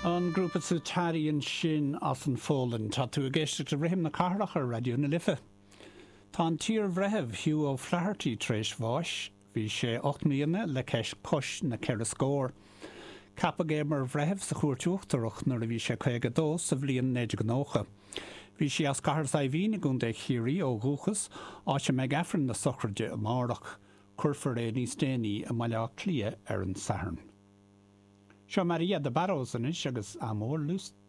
An grúpa Sutari ansin as an Pholainn. Tá tú ag éisteacht le Rithim na Cathrach ar Raidió na Life. Tá an t-iar-bhreitheamh Hugh O'Flaherty tar éis bháis. Bhí sé 8 mbliana le cois na ceithre scór. Ceapadh é mar bhreitheamh sa Chúirt Uachtarach nuair a bhí sé 52 sa bhliain 1990. Bhí sé as Cathair Saidhbhín i gContae Chiarraí ó dhúchas, áit a mbeidh Aifreann na sochraide amárach. Cuirfear é níos déanaí i mBaile Átha Cliath ar an Satharn. Seo Maria de Barros anois agus Amor Lustro.